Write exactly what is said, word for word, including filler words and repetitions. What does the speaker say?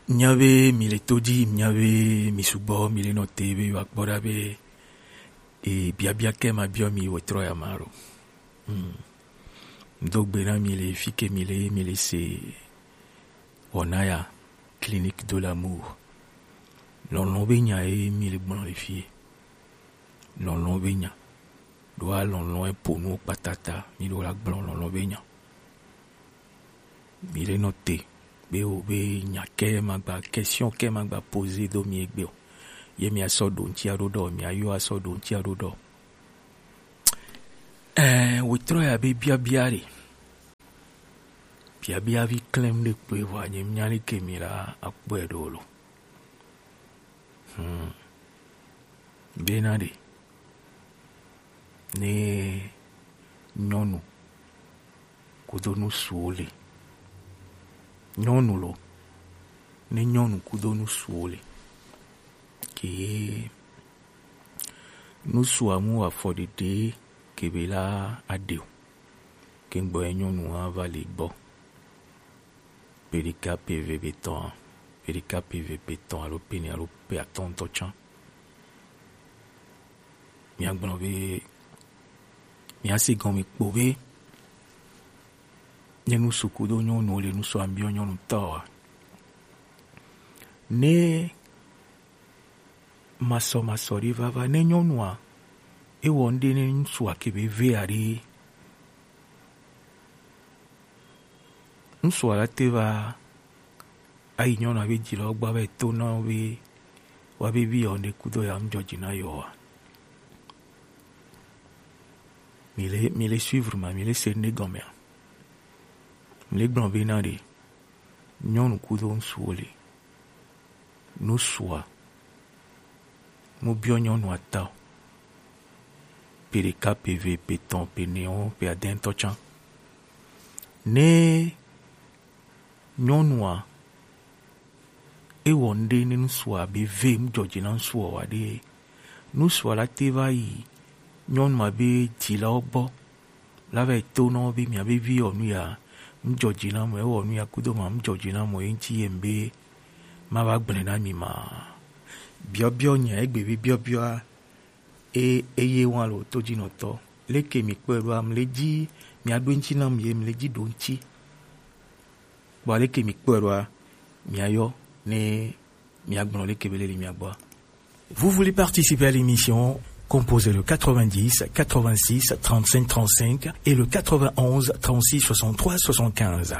Nya be mi le to ji, nya be mi sugbɔ, mi le nɔ te be wa kpɔ ɖa be e biabia kɛ ma biɔ mi wɔ trɔ ya ma ɖo. Hmm. Do gbe na mi le fi ke mi le, mi le se wɔna ya, Clinique de l'amour. Lɔlɔ̃ be nya ye mi le gblɔ le fi. Lɔlɔ̃ be nya. Ɖo a lɔlɔ̃ e po nu kpatata, mi ɖo la gblɔ lɔlɔ̃ be nya. Mi le nɔ te be o be nya kɛ ma gba, question kɛ ma gba poser do mi egbe o. Ye mi asɔ ɖo ŋuti aɖo ɖɔ, mi ayɔ asɔ ɖo ŋuti aɖo ɖɔ. Ɛɛ, wetrɔ ya be biabia ɖe. Biabia vi klem ɖe kpe vɔ nye nya ɖe ke mi la akpɔe ɖo lo. Hmm. Bena ɖe. Ne nyɔnu kudo nusuwo le. Nyɔnu lo. Ne nyɔnu kudo nusuwo le. Ke nusua mu afɔɖeɖe ke be la aɖe o. Ke gbɔ ye nyɔnu hã va le gbɔ. Pe ɖeka pe eve pe tɔn, pe ɖeka pe eve pe tɔn alo pe ene alo pe atɔ̃ ŋutɔ tsã. Miagblɔ be, miase gɔme kpo be, ne nusu kudo nyɔnu le nusu ambiɔ nyɔnu tɔ wa. Ne masɔmasɔ ɖe vava ne nyɔnua, ewɔ ŋɖe ne ŋutsua ke be ve aɖe. Ŋutsua la te va ayi nyɔnua be dzi la wo gbɔ va yi to na wo be wa be vi yɔ ŋɖe kudo ya ŋdzɔ dzi na yɔ wa. Mi le, mi le suivre ma, mi le se ŋɖe gɔmea. Mi le gblɔ be na ɖe nyɔnu kudo ŋutsuwo le. Nusua, mu biɔ nyɔnua ta o. Pe ɖeka, pe eve, pe etɔ̃, pe enewo, pe adɛntɔ tsã. Ne nyɔnua, ewɔ ŋɖe ne nusua be ve ŋdzɔ dzi na nusua wa ɖe, nusua la te va yi nyɔnua be dzilawo gbɔ la va yi to na wo be mia be vi yɔ nu ya ŋdzɔ dzi na mɔ, ewɔ nu ya kudo ma ŋdzɔ dzi na mɔ ye ŋuti ye ŋbe ma va gblẽ na mi ma. Biɔbiɔ nya egbe be biɔbiɔa e eye wa lo to dzi nɔtɔ. Leke mi kpɔe ɖoa, mi le dzi mia ɖo ŋuti na mi ye mi le dzi ɖo ŋuti. Kpɔ leke mi kpɔe ɖoa, mia yɔ ne mia gblɔ leke be le le mia gbɔa. Vous voulez participer à l'émission ? Composez le quatre-vingt-dix, quatre-vingt-six, trente-cinq, trente-cinq et le quatre-vingt-onze, trente-six, soixante-trois, soixante-quinze.